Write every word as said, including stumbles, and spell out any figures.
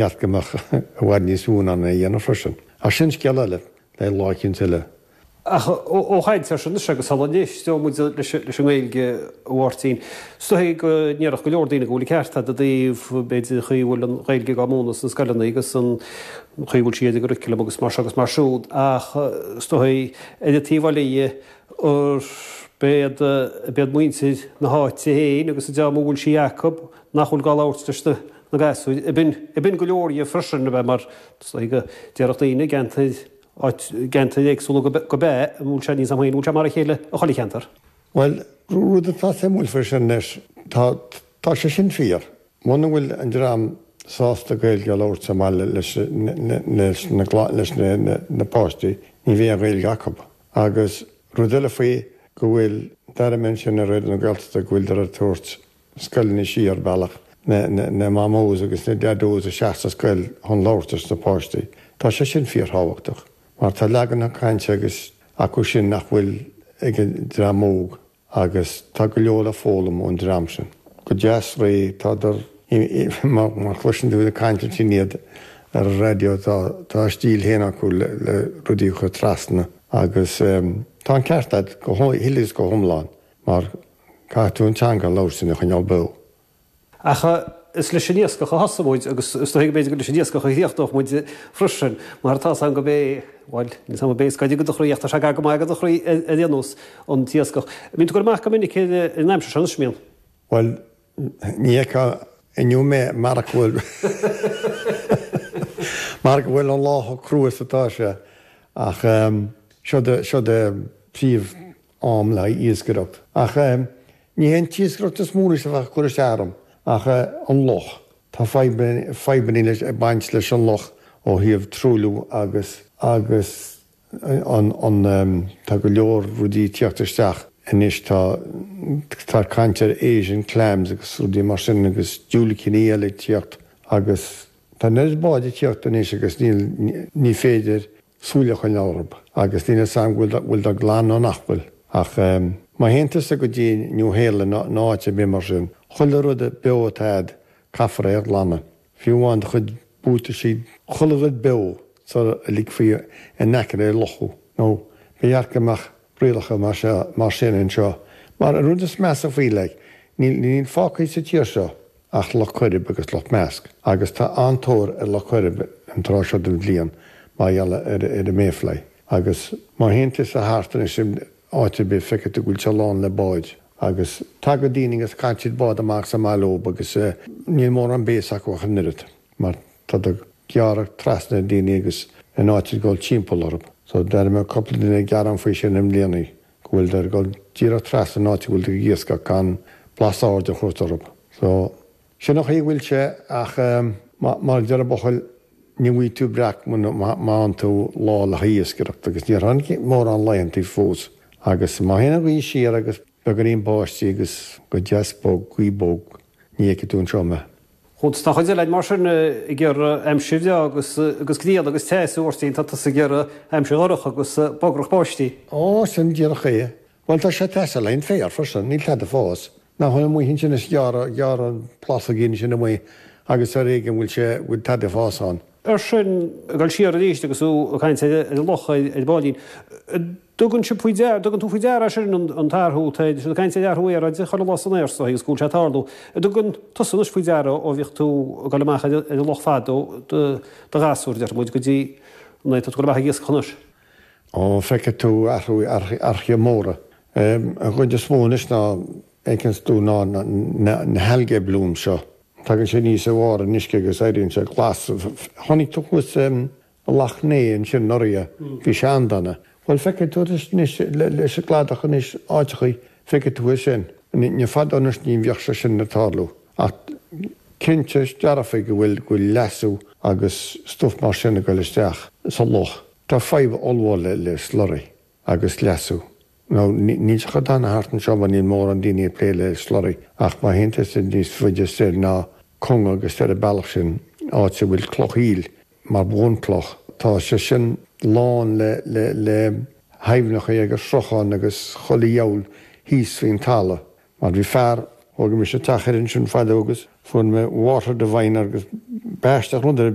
Cheart go mbeadh i bhfad níos mó in ann é a dhéanamh freisin. Ach sin scéal eile le lá eicínt eile. Ach ó chaint air sin anois agus sula n-éisteoidh muid leis an nGaeilge, a Mháirtín, is dóigh go ndéarfadh go leor daoine go bhfuil an ceart agat i dtaobh, b'fhéidir, an chaoi a bhfuil an Ghaeilge á múineadh sna scoileanna agus an chaoi a bhfuil sí ar an gcurriculum agus mar seo agus mar siúd ach is dóigh ar an taobh eile dhe gurb iad muintir na háite féin agus an dream a bhfuil sí acu nach bhfuil á labhairt leis na gasúir. Ab in go leor dhe freisin, ab ea, mar is dóigh go déarfadh daoine i gceantair áit gceantair éagsúla go b'ea, an bhfuil sé níos am féin, an bhfuil sé mar a chéile i chuile cheantar? Bhuel, rud atá suimiúil faoi sin anois, tá, tá sé sin fíor. Muna bhfuil an dream sásta Gaeilge a labhairt sa mbaile leis, leis na, leis na, na páistí, ní bheidh an Ghaeilge acu. Agus rud eile faoi go bhfuil, d'airigh mé ansin ar Raidió na Gaeltachta go bhfuiltear ag tabhairt scoileanna siar bealach na, na, na mamós agus na daidós isteach sa scoil chun labhairt leis na páistí. Tá sé sin fíorthábhachtach mar tá leagan cainte agus acu sin nach bhfuil ag an dream óg agus tá go leor le foghlaim ón dream sin. Go deas réidh, tádar, má chloiseann tú ag caint ansin iad ar an raidió tá, tá a stíl féin acu le, le rudaí a chur trasna agus tá an ceart agat go huile is go hiomlán mar caithfidh tú an teanga a labhairt sin a choinneáil beo. Ach is leis an iascach a thosaigh muid agus is dóigh go mb'fhéidir gur leis an iascach a chríochnódh muid freisin, mar tá 's agam go bé, bhuel, níl 's agam an bé is gaire do do chroí ach tá sé gar go maith do do chroí ar aon nós, an t-iascach. An mbíonn tú ag goil amach go minic ar an aimsir seo anois, an mbíonn? Bhuel, ní fheicfeá inniu mé mar go bhfuil mar go bhfuil an lá chomh crua is atá sé ach seo de seo de príomh am le haghaidh iascaireacht. Ach ní hé an t-iascaireacht is mó anois a bheadh ag cur isteach orm ach an loch. Tá fadhbanna fadhbanna leis ag baint leis an loch ó thaobh truailliú agus agus an an tá go leor rudaí ag tíocht isteach anois tá tá caint ar Asian clams agus rudaí mar sin agus diúilicíní eile ag tíocht agus tá an oiread báid ag tíocht anois agus níl ní féidir súil a choinneáil orthu agus níl a fhios agam go bhfuil bhfuil siad glan nó nach bhfuil. Ach má théann tusa go dtí New Sheolann nó áit ar bith mar sin, chuile rud beo atá a'd, caithfear é a ghlanadh. Fiú amháin do chuid buataisí, chuile rud beo sara ligfí in aice le loch thú. Nó ba cheart go mbeadh rialacha mar seo, mar sin anseo. Mar an rud is measa faoi, like, níl, níl fágtha sa tír seo ach Loch Coirib agus Loch Measc. Agus tá an-tóir ar Loch Coirib an tráth seo den bhliain mar gheall ar, ar an mayfly. Agus má théann tusa thart anois in áit ar bith feicfidh tú go bhfuil sé lán le báid. Agus tagann daoine agus caitheann siad bád amach sa mbaile leob agus níl mórán béas acu ach an oiread mar tá ag gearradh trasna ar daoine agus in áit ag dul timpeall orthu. So d'airigh mé cúpla duine ag gearán faoi sin i mbliana go bhfuil ag dul díreach trasna an áit a bhfuil tú ag iascach gan blas airde a thabhairt orthu. So sin an chaoi a bhfuil sé ach mar a deir an buachaill ní bhfaighidh tú breac muna bhfaigheann tú lá le haghaidh iascaireacht agus níor tháinig mórán laethanta fós agus má théann an ghaoth siar agus beagáinín báistí agus go deas bog, gaoth bog, ní fheicfidh tú anseo mé. Tá an chuid eile mar sin ag iarraidh aimsir bhreá agus agus grian agus teas a Mháirtín, tá tusa ag iarraidh aimsir dhorcha agus bagrach báistí. Ó, sin díreach é. Bhuel, tá sé ag teastáil le haghaidh an féar freisin, níl tada ag fás. Nach bhfuil amuigh ansin is gearradh, gearradh an plásóigín sin amuigh agus ar éigean bhfuil sé, bhfuil tada ag fás ann. Ar sin, ag dul siar arís agus tú ag caint ar an loch ar an bpáilín, dtugann sibh faoi deara, dtugann tú faoi deara é sin an t-athrú, tá siad ag caint ar athrú aeráide chuile lá san aer so agus go bhfuil sé ag tarlú. An dtugann tusa anois faoi deara ó bhíodh tú ag dul amach ar an loch fadó do ghasúr, déarfaidh muid, go dtí an tá tú ag dul amach ag iascach anois? Ó, feicfidh tú athrú, athruithe móra. An chuid is mó anois ná fheiceanns tú ná na algae bloom seo. Tagann sé aníos ó bharr an uisce agus éiríonn sé glas. Chonaic tú thuas i Loch Né ansin anuraidh, bhí sé an-dona. Bhuel, feicfidh tú anois leis an gcladach anois áiteachaí, feicfidh tú é sin. Ní fada anois ní bheadh sé sin ag tarlú. Ach cinnte dearfa go bhfuil go bhfuil leasú agus stuif mar sin ag dul isteach sa loch. Tá fadhb ollmhór le slurry agus leasú. Now, níl sé chomh dona thart anseo mar níl mórán daoine ag plé le slurry ach má théann tusa níos faide soir ná Cong agus ar an bealach sin, áit a bhfuil cloch aoil mar bhunchloch, tá sé sin lán le le le haibhneacha agus srutháin agus chuile dhiabhal thíos faoin talamh. Mar bhí fear, thóg mise teach thoir ansin fadó agus fuair mé water divine agus B'aisteach rud ar